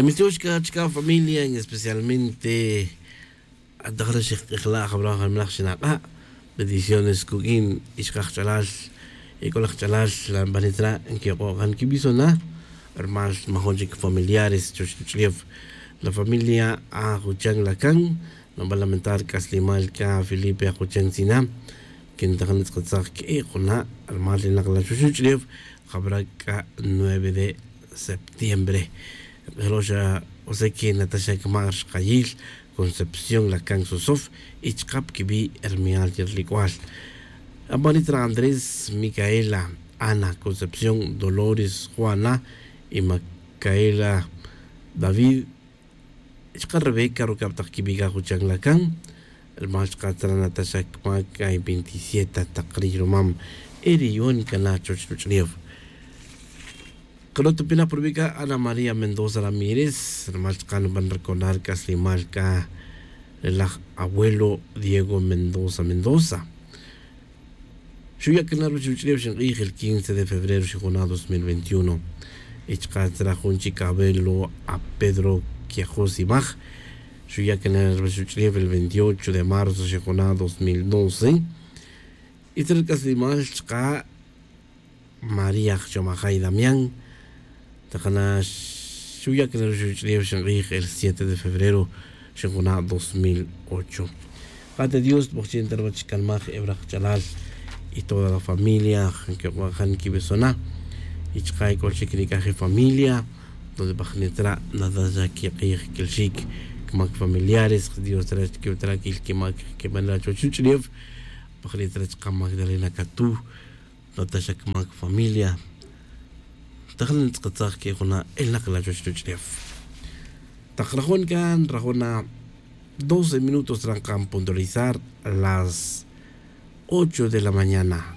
Mistiox chka familia, en especialmente bendiciones kuk'in ixqaj chalal ik'olaj chalal la nkiyoq'on kib'isona rmal majun chik familiares chuwach ruwach'ulew. La familia Ajuchan Lacan nub'an lamentar k'aslemal ka Felipe Ajuchan Sina kintajin ntz'aqatzaj ki'i' juna' rmal inaq la chuwach ruwach'ulew jab'rak k'a 9 de septiembre. Q'ijloxa José que Natasha kma rxqayil Concepción Lacan Sosof y chqap kib'i' Ermial Yerlikwal. Apanitra Andrés, Micaela, Ana, Concepción, Dolores, Juana y Micaela David. Chqa Rebeca rukab' taq kib'i' Ajuchan Lacan. Rmal chqa tzara Natasha kma kay 27 taq riyrumam eriyun kana chuwach ruwach'ulew. Qrotopina por Ana María Mendoza Ramírez, rmal chqa nub'an recordar k'aslemal ka relaj abuelo Diego Mendoza Mendoza. Xuya kana ruwach ruwach'ulew xinq'iij el 15 de febrero xijuna 2021. Y chqa tzara jun chik abuelo a Pedro Quiajos Imaj. Xuya kana ruwach ruwach'ulew el 28 de marzo xijuna 2012. Y tzara k'aslemal chqa María Chomajay Damián. Taqana xuya kana ruwach ruwach'ulew xinq'iij el 7 de febrero xijuna 2008. Qate Dios b'ojchin tarwach kalmaj ebraj chalal y toda la familia que jan kibesona y chqa ik'ol chik nik'aj familia donde b'ajnetra nada ya kiq'iij kilxik kmak familiares Dios tra kib'tra kil kimak kib'an chuwach ruwach'ulew b'ajnetra chqa Magdalena Katú Natasha kmak familia tajin ntz'aqatzaj ke juna elnaq la chuwach ruwach'ulew. Taq rajón kan rajona 12 minutos trancan puntualizar las 8 de la mañana.